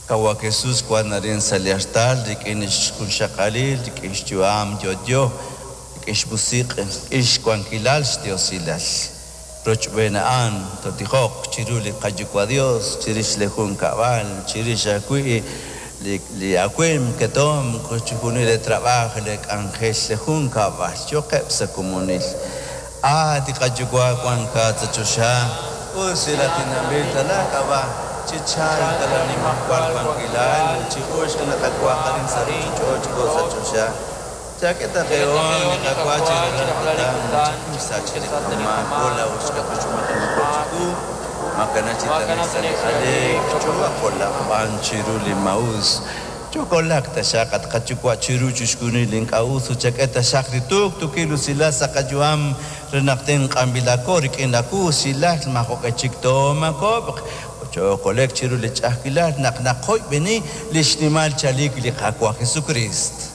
Qawa' Jesus wank arin sa' li artal rik'in xjunxaqalil, rik'in xyu'am yo'yo, rik'in xmusiq', rik'in xwankilal xdiosilal. Rochb'een a'an tootijoq chiru li qaYuwa' Dios, chirix li junkab'al, chirix ajwi' li awimq, ketomq, chixjunil li trab'aaj, li k'anjel, li junkab'al. Yo'qeb' sa' komonil. At li qaYuwa' wankat sa' choxa, usilatinanb'il ta laak'ab'a', chichalq ta laanimajwal wankilal, chi'uxq li qak'waj arin sa' ruuchich'och' jo' sa' choxa. Chak'e ta qe hoon li qak'wa chi rajlal kutan, chakuysa chi li qamaak, jo' laa'o xqakuxumaq chiqu, makana chi t'anek sa' li aleek, choo'aqolaq b'an chiru li maa'us. Chokolaq taxaq at qaYuwa' chiru chixjunil li ink'a' us ut chak'e taxaq li tuqtuukil usilal sa' qayu'am re naq tenq'anb'ilaqo rik'in laawusilal maajoq'e chik toomaakob'q ut chookole'q chiru li ch'a'ajkilal naq naqoyb'eni li xnimal chalik li Qaawa' Jesukriist.